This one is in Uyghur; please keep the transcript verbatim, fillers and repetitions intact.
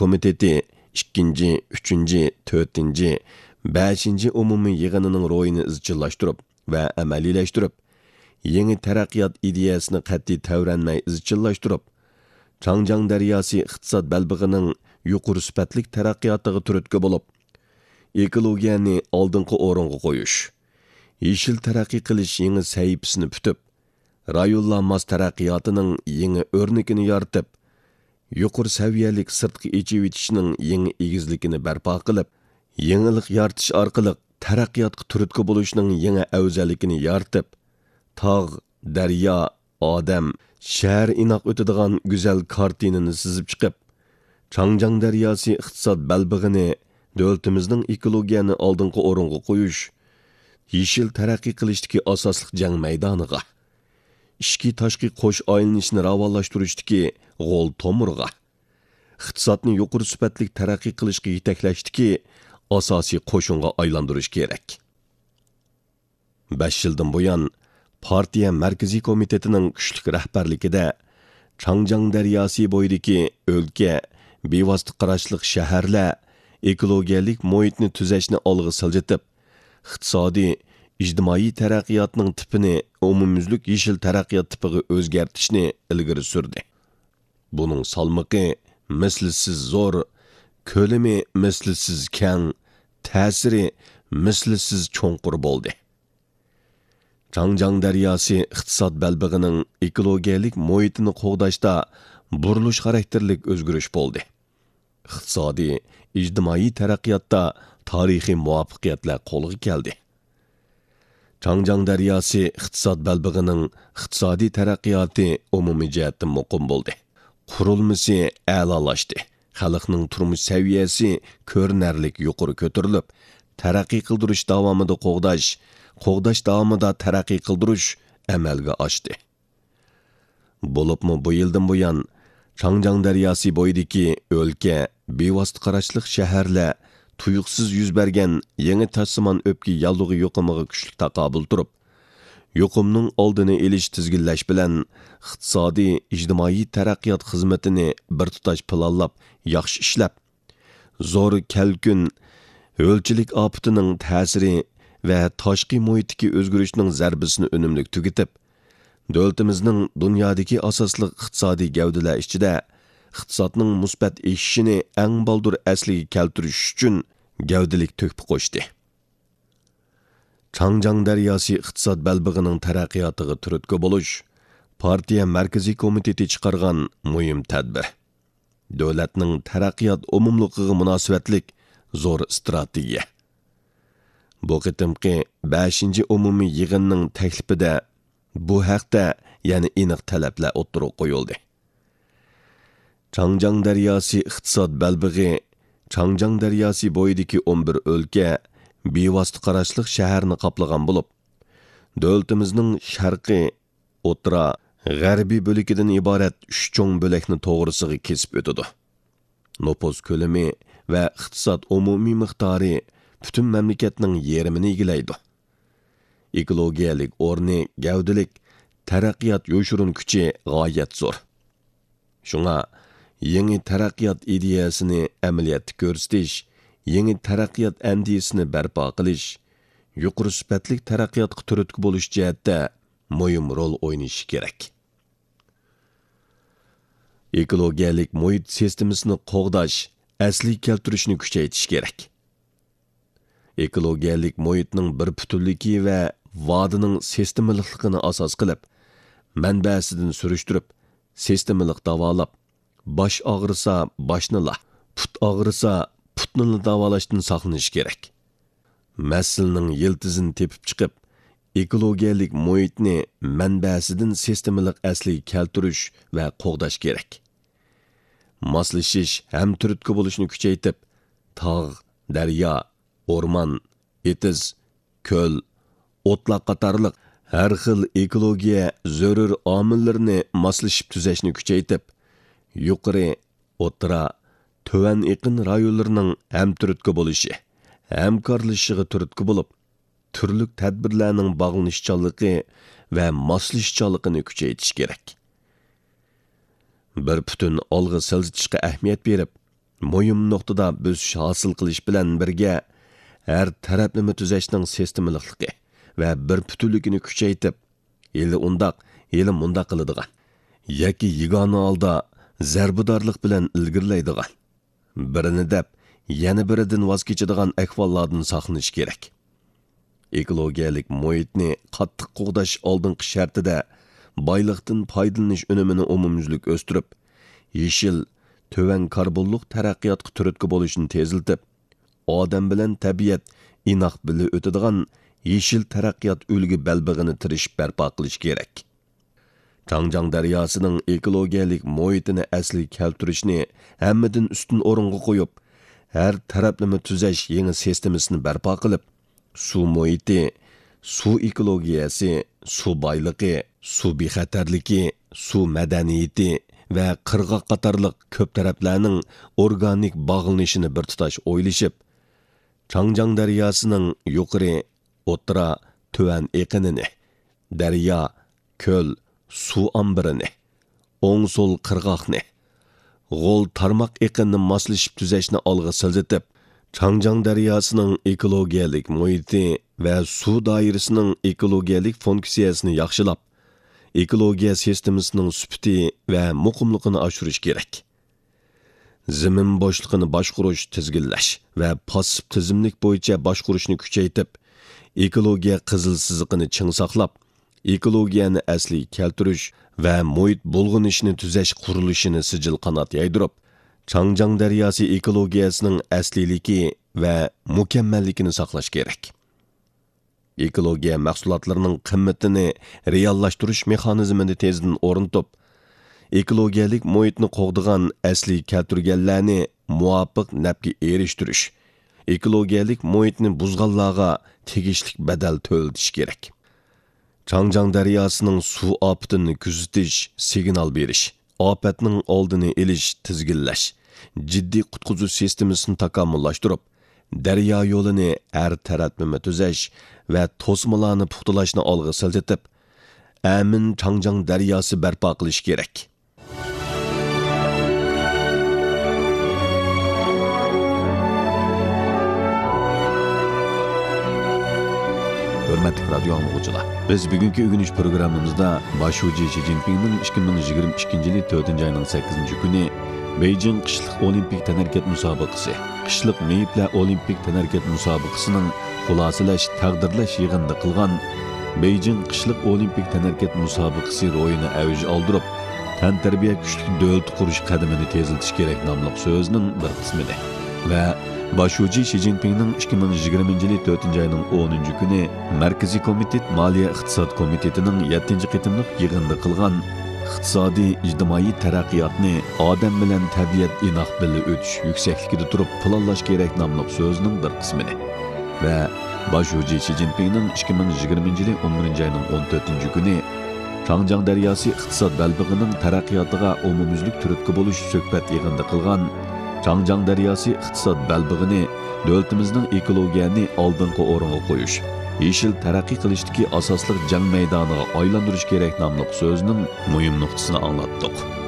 كومىتېتى ئىككىنچى، ئۈچىنچى، تۆتىنچى، بەشىنچى ئومۇمىي يىغىنىنىڭ روھىنى ئىزچىللاشتۇرۇپ ۋە ئەمەلىيلەشتۈرۈپ، يېڭى تەرەققىيات ئىدىيەسىنى قەتئىي تەۋرەنمەي ئىزچىللاشتۇرۇپ، چاڭجياڭ دەرياسى ئىقتىساد بەلبېغىنىڭ يۇقىرى سۈپەتلىك تەرەققىياتىغا تۈرتكە بولۇپ، ئېكولوگىيەنى ئالدىنقى ئورۇنغا قويۇش، يېشىل تەرەققىي قىلىش يېڭى سەھىپىسىنى پۈتۈپ، رايونلار ماس تەرەققىياتىنىڭ يېڭى ئۆرنىكىنى يارىتىپ، يۇقىرى سەۋىيەلىك سىرتقا ئېچىۋېتىشنىڭ يېڭى ئېگىزلىكىنى بەرپا قىلىپ، يېڭىلىق يارىتىش ئارقىلىق تەرەققىياتقا تۈرتكە بولۇشنىڭ يېڭى ئەۋزەللىكىنى يارىتىپ، تاغ، دەريا، ئادەم، شەھەر ئىناق ئۆتىدىغان گۈزەل كارتىنىنى سىزىپ چىقىپ، چاڭجياڭ دەرياسى ئىقتىساد بەلبېغىنى دۆلىتىمىزنىڭ ئېكولوگىيەنى ئالدىنقى ئورۇنغا قويۇش، يېشىل تەرەققىي قىلىشتىكى ئاساسلىق جەڭ مەيدانىغا، ئىچكى تاشقى قوش ئايلىنىشنى راۋانلاشتۇرۇشتىكى غول تومۇرغا، ئىقتىسادنى يۇقىرى سۈپەتلىك تەرەققىي قىلىشقا يېتەكلەشتىكى ئاساسىي قوشۇنغا ئايلاندۇرۇش كېرەك. بەش يىلدىن بۇيان، پارتىيە مەركىزىي كومىتېتىنىڭ كۈچلۈك رەھبەرلىكىدە، چاڭجياڭ دەرياسى بويىدىكى ئۆلكە، بىۋاسىتە قاراشلىق شەھەرلەر ئېكولوگىيەلىك مۇھىتنى تۈزەشنى ئالغا سىلجىتىپ، ئىقتىسادىي، ئىجتىمائىي تەرەققىياتنىڭ تىپىنى ئومۇميۈزلۈك يېشىل تەرەققىيات تىپىغا ئۆزگەرتىشنى ئىلگىرى سۈردى. بۇنىڭ سالمىقى مىسلىسىز زور، كۆلىمى مىسلىسىز كەڭ، تەسىرى مىسلىسىز چوڭقۇر بولدى. چاڭجياڭ دەرياسى ئىقتىساد بەلبېغىنىڭ ئېكولوگىيەلىك مۇھىتىنى قوغداشتا بۇرۇلۇش خاراكتېرلىك ئۆزگىرىش بولدى. ئىقتىسادىي، ئىجتىمائىي تەرەققىياتتا تارىخىي مۇۋەپپەقىيەتلەر قولغا كەلدى. چاڭجياڭ دەرياسى ئىقتىساد بەلبېغىنىڭ ئىقتىسادىي تەرەققىياتى ئومۇمىي جەھەتتىن مۇقىم بولدى. قۇرۇلمىسى ئەلالاشتى. خەلقنىڭ تۇرمۇش سەۋىيەسى كۆرۈنەرلىك يۇقىرى كۆتۈرۈلۈپ، تەرەققىي قىلدۇرۇش داۋامىدا قوغداش، قوغداش داۋامىدا تەرەققىي قىلدۇرۇش ئەمەلگە ئاشتى. بولۇپمۇ بۇ يىلدىن بۇيان، چاڭجياڭ دەرياسى بويىدىكى ئۆلكە، بىۋاسىتە قاراشلىق شەھەرلەر تۇيۇقسىز يۈز بەرگەن يېڭى تاشسىمان ئۆپكە ياللۇغى يۇقۇمىغا كۈچلۈك تاقابىل تۇرۇپ، يۇقۇمنىڭ ئالدىنى ئېلىش، تىزگىنلەش بىلەن ئىقتىسادىي، ئىجتىمائىي تەرەققىيات خىزمىتىنى بىر تۇتاش پىلانلاپ، ياخشى ئىشلەپ، زور كەلكۈن، ھۆلچىلىك ئاپىتىنىڭ تەسىرى ۋە تاشقى مۇھىتتىكى ئۆزگىرىشنىڭ زەربىسىنى ئۈنۈملۈك تۈگىتىپ، دۆلىتىمىزنىڭ دۇنيادىكى ئاساسلىق ئىقتىسادىي گەۋدىلەر ئىچىدە ئىقتىسادنىڭ مۇسبەت ئېشىشىنى ئەڭ بالدۇر ئەسلىگە كەلتۈرۈش ئۈچۈن گەۋدىلىك تۆھپە قوشتى. چاڭجياڭ دەرياسى ئىقتىساد بەلبېغىنىڭ تەرەققىياتىغا تۈرتكە بولۇش پارتىيە مەركىزىي كومىتېتى چىقارغان مۇھىم تەدبىر. دۆلەتنىڭ تەرەققىيات ئومۇملۇقىغا مۇناسىۋەتلىك زور ئىستراتېگىيە. بۇ قېتىمقى بەشىنچى ئومۇمىي يىغىننىڭ تەكلىپىدە بۇ ھەقتە يەنە ئېنىق تەلەپلەر ئوتتۇرىغا قويۇلدى. چاڭجياڭ دەرياسى ئىقتىساد بەلبېغى چاڭجياڭ دەرياسى بويىدىكى ئون بىر ئۆلكە، بىۋاسىتە قاراشلىق شەھەرنى قاپلىغان بولۇپ، دۆلىتىمىزنىڭ شەرقىي، ئوتتۇرا، غەربىي بۆلىكىدىن ئىبارەت ئۈچ چوڭ بۆلەكنى توغرىسىغا كېسىپ ئۆتىدۇ. نوپۇس كۆلىمى ۋە ئىقتىساد ئومۇمىي مىقدارى پۈتۈن مەملىكەتنىڭ يېرىمىنى ئىگىلەيدۇ. ئېكولوگىيەلىك ئورنى گەۋدىلىك، تەرەققىيات يوشۇرۇن كۈچى غايەت زور. شۇڭا، يېڭى تەرەققىيات ئىدىيەسىنى ئەمەلىيەتتە كۆرسىتىش، يېڭى تەرەققىيات ئەندىزىسىنى بەرپا قىلىش، يۇقىرى سۈپەتلىك تەرەققىياتقا تۈرتكە بولۇش جەھەتتە مۇھىم رول ئوينىشى كېرەك. ئېكولوگىيەلىك مۇھىت سىستېمىسىنى قوغداش، ئەسلىگە كەلتۈرۈشنى كۈچەيتىش كېرەك. ئېكولوگىيەلىك مۇھىتنىڭ بىر پۈتۈنلۈكى ۋە ۋادىنىڭ سىستېمىلىقلىقىنى ئاساس قىلىپ، مەنبەسىدىن سۈرۈشتۈرۈپ، سىستېمىلىق داۋالاپ، باش ئاغرىسا باشنىلا، پۇت ئاغرىسا پۇتنىلا داۋالاشتىن ساقلىنىش كېرەك. مەسىلىنىڭ يىلتىزىنى تېپىپ چىقىپ، ئېكولوگىيەلىك مۇھىتنى مەنبەسىدىن سىستېمىلىق ئەسلىگە كەلتۈرۈش ۋە قوغداش كېرەك. ماسلىشىش ھەم تۈرتكە بولۇشنى كۈچەيتىپ، تاغ، دەريا، ئورمان، ئېتىز، كۆل، ئوتلاق قاتارلىق ھەر خىل ئېكولوگىيە زۆرۈر ئامىللىرىنى ماسلىشىپ تۈزەشنى كۈچەيتىپ، يۇقىرى، ئوتتۇرا، تۆۋەن ئېقىن رايونلىرىنىڭ ھەم تۈرتكە بولۇشى، ھەمكارلىشىشىغا تۈرتكە بولۇپ، تۈرلۈك تەدبىرلەرنىڭ باغلىنىشچانلىقى ۋە ماسلىشىشچانلىقىنى كۈچەيتىش كېرەك. بىر پۈتۈن ئالغا سىلجىتىشقا ئەھمىيەت بېرىپ، مۇھىم نۇقتىدا بۆسۈش ھاسىل قىلىش بىلەن بىرگە، ھەر تەرەپلىمە تۈزەشنىڭ سىستېمىلىقلىقى ۋە بىر پۈتۈنلۈكىنى كۈچەيتىپ، ھېلى ئۇنداق، ھېلى مۇنداق قىلىدىغان ياكى يېگانە ھالدا زەربىدارلىق بىلەن ئىلگىرىلەيدىغان، بىرىنى دەپ، يەنە بىرىدىن ۋاز كېچىدىغان ئەھۋاللاردىن ساقلىنىش كېرەك. ئېكولوگىيەلىك مۇھىتنى قاتتىق قوغداش ئالدىنقى شەرتىدە بايلىقتىن پايدىلىنىش ئۈنۈمىنى ئومۇميۈزلۈك ئۆستۈرۈپ، يېشىل، تۆۋەن كاربونلۇق تەرەققىياتقا تۈرتكە بولۇشنى تېزلىتىپ، ئادەم بىلەن تەبىئەت ئىناق بىللە ئۆتىدىغان يېشىل تەرەققىيات ئۈلگە بەلبېغىنى تىرىشىپ بەرپا قىلىش كېرەك. چاڭجياڭ دەرياسىنىڭ ئېكولوگىيەلىك مۇھىتىنى ئەسلىگە كەلتۈرۈشنى ھەممىدىن ئۈستۈن ئورۇنغا قويۇپ، ھەر تەرەپلىمە تۈزەش يېڭى سىستېمىسىنى بەرپا قىلىپ، سۇ مۇھىتى، سۇ ئېكولوگىيەسى، سۇ بايلىقى، سۇ بىخەتەرلىكى، سۇ مەدەنىيىتى ۋە قىرغاق قاتارلىق كۆپ تەرەپلەرنىڭ ئورگانىك باغلىنىشىنى بىر تۇتاش ئويلىشىپ، چاڭجياڭ دەرياسىنىڭ يۇقىرى، ئوتتۇرا، تۆۋەن ئېقىنىنى، دەريا، كۆل، سۇ ئامبىرىنى، ئوڭ سول قىرغاقنى، غول تارماق ئېقىنىنى ماسلىشىپ تۈزەشنى ئالغا سىلجىتىپ، چاڭجياڭ دەرياسىنىڭ ئېكولوگىيەلىك مۇھىتى ۋە سۇ دائىرىسىنىڭ ئېكولوگىيەلىك فۇنكسىيەسىنى ياخشىلاپ، ئېكولوگىيە سىستېمىسىنىڭ سۈپىتى ۋە مۇقىملىقىنى ئاشۇرۇش كېرەك. زېمىن بوشلۇقىنى باشقۇرۇش، تىزگىنلەش ۋە پاسسىپ تىزىملىك بويىچە باشقۇرۇشنى كۈچەيتىپ، ئېكولوگىيە قىزىل سىزىقىنى چىڭ ساقلاپ، ئېكولوگىيەنى ئەسلىگە كەلتۈرۈش ۋە مۇھىت بۇلغىنىشىنى تۈزەش قۇرۇلۇشىنى سىجىل قانات يايدۇرۇپ، چاڭجياڭ دەرياسى ئېكولوگىيەسىنىڭ ئەسلىيلىكى ۋە مۇكەممەللىكىنى ساقلاش كېرەك. ئېكولوگىيە مەھسۇلاتلىرىنىڭ قىممىتىنى رېئاللاشتۇرۇش مېخانىزمىنى تېزدىن ئورنىتىپ، ئېكولوگىيەلىك مۇھىتنى قوغدىغان ئەسلىگە كەلتۈرگەنلەرنى مۇۋاپىق نەپكە ئېرىشتۈرۈش، ئېكولوگىيەلىك مۇھىتنى بۇزغانلارغا تېگىشلىك بەدەل تۆلىتىش كېرەك. چاڭجياڭ دەرياسىنىڭ سۇ ئاپىتىنى كۆزىتىش، سىگنال بېرىش، ئاپەتنىڭ ئالدىنى ئېلىش، تىزگىنلەش، جىددىي قۇتقۇزۇش سىستېمىسىنى تاكامۇللاشتۇرۇپ، دەريا يولىنى ھەر تەرەپلىمە تۈزەش ۋە توسمىلارنى پۇختىلاشنى ئالغا سىلجىتىپ، ئەمىن چاڭجياڭ دەرياسى بەرپا قىلىش كېرەك. ھۆرمەتلىك رادىيو ئاڭلىغۇچىلار، بىز بۈگۈنكى ئۆگىنىش پروگراممىمىزدا باش شۇجى شى جىنپىڭنىڭ ئىككى مىڭ يىگىرمە ئىككىنچى يىلى تۆتىنچى ئاينىڭ سەككىزىنچى كۈنى بېيجىڭ قىشلىق ئولىمپىك تەنھەرىكەت مۇسابىقىسى، قىشلىق مېيىپلەر ئولىمپىك تەنھەرىكەت مۇسابىقىسىنىڭ خۇلاسىلەش، تەقدىرلەش يىغىنىدا قىلغان بېيجىڭ قىشلىق ئولىمپىك تەنھەرىكەت مۇسابىقىسى روھىنى ئەۋج ئالدۇرۇپ، تەنتەربىيە كۈچلۈك دۆلىتى قۇرۇش قەدىمىنى تېزلىتىش كېرەك ناملىق سۆزىنىڭ بىر قىسمىدى. ۋە باش شۇجى شى جىنپىڭنىڭ ئىككى مىڭ يىگىرمىنچى يىلى تۆتىنچى ئاينىڭ ئونىنچى كۈنى مەركىزىي كومىتېت مالىيە ئىقتىساد كومىتېتىنىڭ يەتتىنچى قېتىملىق يىغىنىدا قىلغان ئىقتىسادىي، ئىجتىمائىي تەرەققىياتنى ئادەم بىلەن تەبىئەت ئىناق بىللە ئۆتۈش يۈكسەكلىكىدە تۇرۇپ پىلانلاش كېرەك ناملىق سۆزىنىڭ بىر قىسمىنى ۋە باش شۇجى شى جىنپىڭنىڭ ئىككى مىڭ يىگىرمىنچى يىلى ئون بىرىنچى ئاينىڭ ئون تۆتىنچى كۈنى چاڭجياڭ دەرياسى ئىقتىساد بەلبېغىنىڭ تەرەققىياتىغا ئومۇميۈزلۈك تۈرتكە بولۇش سۆھبەت يىغىنىدا قىلغان چاڭجياڭ دەرياسى ئىقتىساد بەلبېغىنى دۆلىتىمىزنىڭ ئېكولوگىيەنى ئالدىنقى ئورۇنغا قويۇش، يېشىل تەرەققىي قىلىشتىكى ئاساسلىق جەڭ مەيدانىغا ئايلاندۇرۇش كېرەك ناملىق سۆزىنىڭ مۇھىم نۇقتىسىنى ئاڭلاتتۇق.